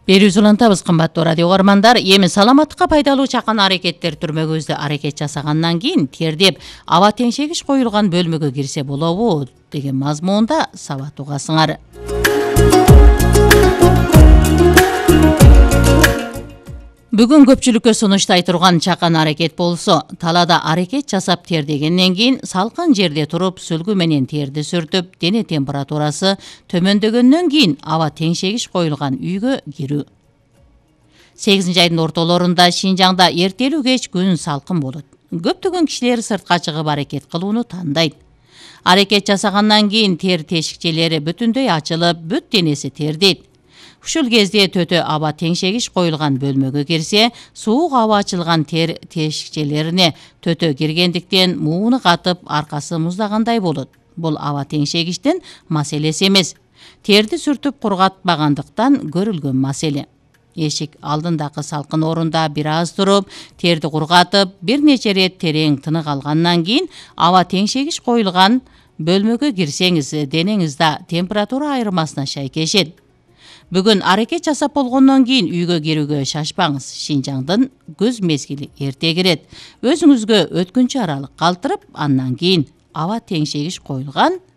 Берүүсү улантабыз, кымбаттуу радио угармандар. Эми саламаттыкка пайдалуу чакан аракеттер түрмөгүбүздө аракет жасагандан кийин тердеп аба теңшегич коюлган бөлмөгө кирсе болобу деген мазмунда сабат угасыңар. Бүгүн көпчүлүккө сунуштай турган чакан аракет болсо, талаада аракет жасап тердегенден кийин салкын жерде туруп сүлгү менен терди сүртүп, дене температурасы төмөндөгөндөн кийин аба теңшегич коюлган үйгө кирүү. 8 айдын ортолорунда Шинжаңда эртелүү кеч күн салкын болот. Көптөгөн кишилер сыртка чыгып аракет кылууну тандайт. Аракет жасагандан кийин тер тешикчелери бүтүндөй ачылып, бүт денеси тердейт. Ушул кезде төтө аба теңшегич коюлган бөлмөгө кирсе, суук аба ачылган тер тешикчелерине төтө киргендиктен мууну катып, аркасы муздагандай болот. Бул аба теңшегичтин маселеси эмес. Терди сүртүп кургатпагандыктан көрүлгөн маселе. Эшик алдындагы салкын орунда бир аз туруп, терди кургатып, бир нече рет терең тынык алгандан кийин аба теңшегич коюлган бөлмөгө кирсеңиз, денеңизде температура айырмасына шайкешет. Бүгүн аракет жасап болгондон кийин үйгө кирүүгө шашпаңыз. Шинжаңдын күз мезгили эрте кирет. Өзүңүзгө өткүнчү аралык калтырып, андан кийин аба теңшегич коюлган